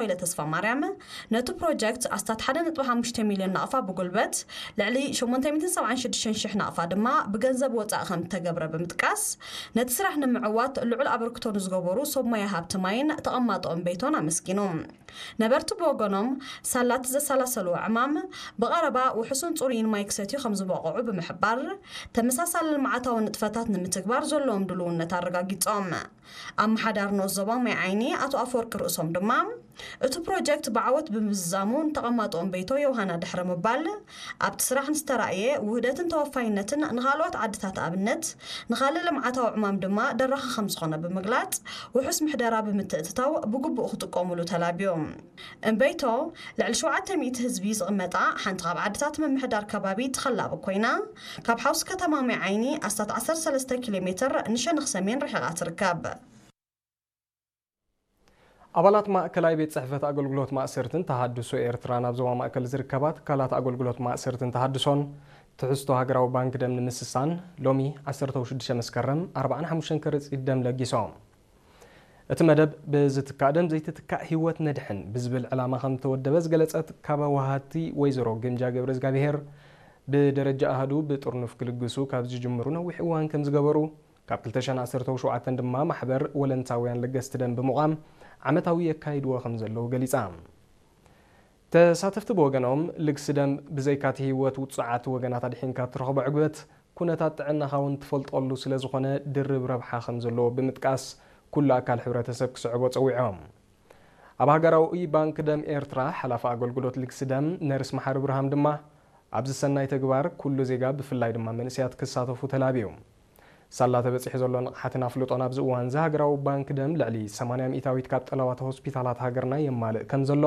ወይለ ተስፋ ማርያም፣ ነቲ ፕሮጀክት ኣስታት ሓደ ነጥቢ ሓሙሽተ ሚልዮን ናቕፋ ብጉልበት፣ ልዕሊ ሸሞንተ ሚእትን ሰብዓን ሽዱሽተን ሽሕ ናቕፋ ድማ ብገንዘብ ወጻኢ ከም እተገብረ ብምጥቃስ፣ ነቲ ስራሕ ንምዕዋት ልዑል ኣበርክቶ ንዝገበሩ ሰብ ሞያ ሃብቲ ማይን ተቐማጦ እምበይቶን ኣመስጊኑ። ነበርቲ ብወገኖም፣ ሳላት ዘሰላሰልዎ ዕማም ብቐረባ ውሑስን ጽሩይን ማይ ክሰትዩ ከም ዝበቕዑ ብምሕባር፣ ተመሳሳሊ ልምዓታዊ ንጥፈታት ንምትግባር ዘለዎም ድልውነት ኣረጋጊጾም። ኣመሓዳሪ ንኡስ ዞባ ማይ ዓይኒ ኣቶ ኣፈወርቂ ርእሶም ድማ፣ እቲ ፕሮጀክት ብዓወት ብምዝዛሙ ንተቐማጦ እምበይቶ ዮሃና ድሕሪ ምባል፣ ኣብቲ ስራሕ ንዝተራእየ ውህደትን ተወፋይነትን ንኻልኦት ዓድታት ኣብነት፣ ንኻልእ ልምዓታዊ ዕማም ድማ ደራኺ ከም ዝኾነ ብምግላጽ፣ ውሑስ ምሕደራ ብምትእትታው ብግቡእ ክጥቀሙሉ ተላብዮም። እምበይቶ፣ ልዕሊ ሸውዓተ ሚእቲ ህዝቢ ዝቕመጣ ሓንቲ ካብ ዓድታት ምምሕዳር ከባቢ ትኸላብ ኮይና፣ ካብ ሓውሲ ከተማ ማይ ዓይኒ ኣስታት ዓሰርተ ሰለስተ ኪሎ ሜትር ንሸነኽ ሰሜን ርሒቓ ትርከብ። ኣባላት ማእከላይ ቤት ጽሕፈት ኣገልግሎት ማእሰርትን ተሃድሶ ኤርትራ ናብ ዞባ ማእከል ዝርከባ ትካላት ኣገልግሎት ማእሰርትን ተሃድሶን ትሕዝቶ ሃገራዊ ባንክ ደም ንምስሳን ሎሚ ዓሰርተ ሽዱሽተ መስከረም ኣርብዓን ሓሙሽተን ከረጺት ደም ለጊሶም። እቲ መደብ ብዝትካእ ደም ዘይትትካእ ህይወት ነድሕን ብዝብል ዕላማ ከም ዝተወደበ ዝገለጸት ካብ ወሃድቲ ወይዘሮ ግምጃ ገብረ እግዚኣብሔር ብደረጃ ኣሃዱ ብጥርኑፍ ክልግሱ ካብ ዝጅምሩ ነዊሕ እዋን ከም ዝገበሩ ካብ ክልተ ሽሕን ዓሰርተ ሸውዓተን ድማ ማሕበር ወለንታውያን ለገስቲ ደም ብምቋም ዓመታዊ የካይድዎ ከም ዘለዉ ገሊጻ። ተሳተፍቲ ብወገኖም ልግሲ ደም ብዘይካቲ ህይወት ውጹዓት ወገናት ኣድሒንካ እትረኽቦ ዕግበት ኩነታት ጥዕናኻ እውን ትፈልጠሉ ስለ ዝኾነ ድርብ ረብሓ ከም ዘለዎ ብምጥቃስ ኩሉ ኣካል ሕብረተሰብ ክስዕቦ ጸዊዖም። ኣብ ሃገራዊ ባንክ ደም ኤርትራ ሓላፊ ኣገልግሎት ልግሲ ደም ነርስ መሓሪ ብርሃም ድማ ኣብዚ ሰናይ ተግባር ኩሉ ዜጋ ብፍላይ ድማ መንእሰያት ክሳተፉ ተላብዩ። ሳላ ተበጺሑ ዘሎ ንቕሓትን ኣፍልጦን ኣብዚ እዋን እዚ ሃገራዊ ባንክ ደም ልዕሊ ሰማንያ ሚእታዊት ካብ ጠለባት ሆስፒታላት ሃገርና የማልእ ከም ዘሎ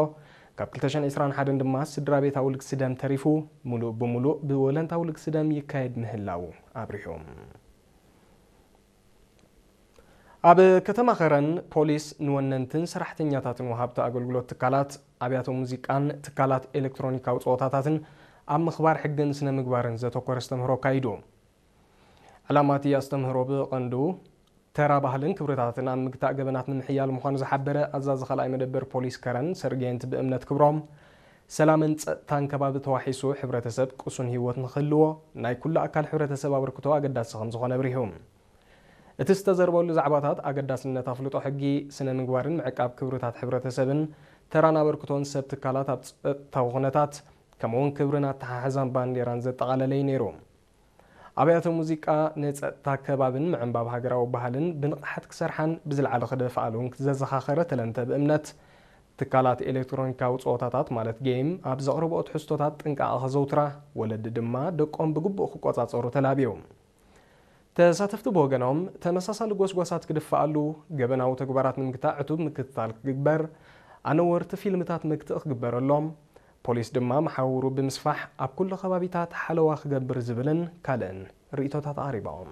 ካብ ክልተ ሽሕን ዕስራን ሓደን ድማ ስድራ ቤታዊ ልግሲ ደም ተሪፉ ሙሉእ ብሙሉእ ብወለንታዊ ልግሲ ደም ይካየድ ምህላው ኣብሪሁ። ኣብ ከተማ ኸረን ፖሊስ ንወነንትን ሰራሕተኛታትን ወሃብቲ ኣገልግሎት ትካላት ኣብያተ ሙዚቃን ትካላት ኤሌክትሮኒካዊ ጸወታታትን ኣብ ምኽባር ሕግን ስነ ምግባርን ዘተኮረ ኣስተምህሮ ኣካይዱ። ዕላማ እቲ ኣስተምህሮ ብቐንዱ ተራ ባህልን ክብርታትን ኣብ ምግታእ ገበናት ንምሕያል ምዃኑ ዝሓበረ ኣዛዚ ካልኣይ መደበር ፖሊስ ከረን ሰርጌንት ብእምነት ክብሮም፣ ሰላምን ጸጥታን ከባቢ ተዋሒሱ ሕብረተሰብ ቅሱን ህይወት ንክህልዎ ናይ ኩሉ ኣካል ሕብረተሰብ ኣበርክቶ ኣገዳሲ ከም ዝኾነ ኣብሪሁ። እቲ ዝተዘርበሉ ዛዕባታት ኣገዳስነት ኣፍልጦ ሕጊ፣ ስነ ምግባርን ምዕቃብ ክብርታት ሕብረተሰብን ተራን ኣበርክቶን ሰብ ትካላት ኣብ ጸጥታዊ ኩነታት ከምኡውን ክብርን ኣተሓሕዛን ባንዴራን ዘጠቓለለ እዩ ነይሩ። ኣብያተ ሙዚቃ ንጸጥታ ከባብን ምዕንባብ ሃገራዊ ባህልን ብንቕሓት ክሰርሓን ብዝለዓለ ክደፍኣሉን ዘዘኻኸረ ተለንተ ብእምነት፣ ትካላት ኤሌክትሮኒካዊ ጸወታታት ማለት ጌም ኣብ ዘቕርብኦ ትሕዝቶታት ጥንቃቐ ከዘውትራ፣ ወለዲ ድማ ደቆም ብግቡእ ክቆጻጸሩ ተላብዩ። ተሳተፍቲ ብወገኖም፣ ተመሳሳሊ ጎስጓሳት ክድፋኣሉ፣ ገበናዊ ተግባራት ንምግታእ ዕቱብ ምክትታል ክግበር፣ ኣነወርቲ ፊልምታት መክትኢ ክግበረሎም፣ ፖሊስ ድማ መሓውሩ ብምስፋሕ ኣብ ኩሉ ከባቢታት ሓለዋ ክገብር ዝብልን ካልእን ርእይቶታት ኣቕሪቦም።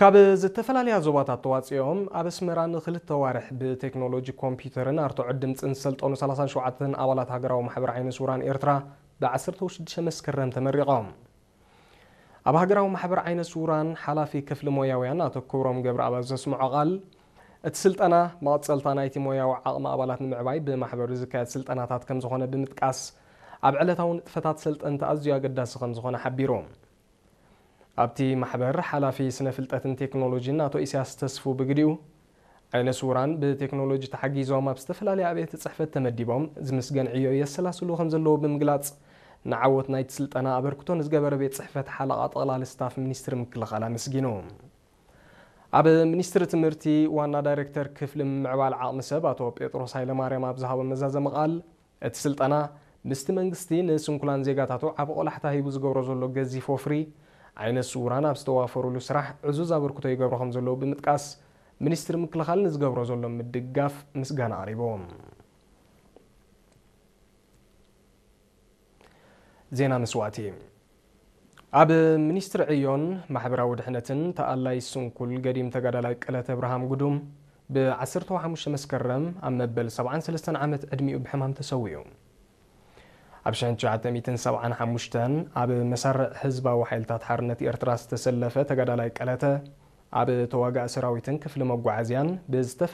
ካብ ዝተፈላለያ ዞባታት ተዋፂኦም ኣብ ኣስመራ ንክልተ ዋርሕ ብቴክኖሎጂ ኮምፒውተርን ኣርትዖት ድምፅን ዝሰልጠኑ ሰላሳን ሸውዓተን ኣባላት ሃገራዊ ማሕበር ዓይነ ስውራን ኤርትራ ብ ዓሰርተ ሽዱሽተ መስከረም ተመሪቖም። ኣብ ሃገራዊ ማሕበር ዓይነ ስውራን ሓላፊ ክፍሊ ሞያውያን ኣቶ ክብሮም ገብረኣብ ኣብ ዘስምዖ ቃል፣ እቲ ስልጠና መቐጸልታ ናይቲ ሞያዊ ዓቕሚ ኣባላት ንምዕባይ ብማሕበሩ ዝካየድ ስልጠናታት ከም ዝኾነ ብምጥቃስ፣ ኣብ ዕለታዊ ንጥፈታት ሰልጠንቲ ኣዝዩ ኣገዳሲ ከም ዝኾነ ሓቢሩ። ኣብቲ ማሕበር ሓላፊ ስነ ፍልጠትን ቴክኖሎጂን ኣቶ ኢሳያስ ተስፉ ብግዲኡ፣ ዓይነ ስውራን ብቴክኖሎጂ ተሓጊዞም ኣብ ዝተፈላለያ ኣብያተ ጽሕፈት ተመዲቦም ዝምስገን ዕዮ የሰላስሉ ከም ዘለዉ ብምግላጽ፣ ንዓወት ናይቲ ስልጠና ኣበርክቶ ንዝገበረ ቤት ጽሕፈት ሓለቓ ጠቕላሊ ስታፍ ሚኒስትሪ ምክልኻል ኣመስጊኑ። ኣብ ሚኒስትሪ ትምህርቲ ዋና ዳይሬክተር ክፍሊ ምምዕባል ዓቕሚ ሰብ ኣቶ ጴጥሮስ ሃይለማርያም ኣብ ዝሃቦ መዛዘሚ ቃል፣ እቲ ስልጠና ምስቲ መንግስቲ ንስንኩላን ዜጋታቱ ዓቢ ቆላሕታ ሂቡ ዝገብሮ ዘሎ ገዚፍ ወፍሪ፣ ዓይነ ስውራን ኣብ ዝተዋፈሩሉ ስራሕ ዕዙዝ ኣበርክቶ ይገብሮ ከም ዘለዉ ብምጥቃስ፣ ሚኒስትሪ ምክልኻል ንዝገብሮ ዘሎ ምድጋፍ ምስጋና ኣቕሪቡ። ዜና መስዋእቲ። ኣብ ሚኒስትሪ ዕዮን ማሕበራዊ ድሕነትን ተኣላይ ስንኩል ገዲም ተጋዳላይ ቀለተ ኣብርሃም ጉዱም ብ ዓሰርተ ሓሙሽተ መስከረም ኣብ መበል ሰብዓን ሰለስተን ዓመት ዕድሚኡ ብሕማም ተሰዊኡ። ኣብ ሽሕን ትሽዓተ ሚእትን ሰብዓን ሓሙሽተን ኣብ መሳርዕ ህዝባዊ ሓይልታት ሓርነት ኤርትራ ዝተሰለፈ ተጋዳላይ ቀለተ ኣብ ተዋጋእ ሰራዊትን ክፍሊ መጓዓዝያን ብዝተፈ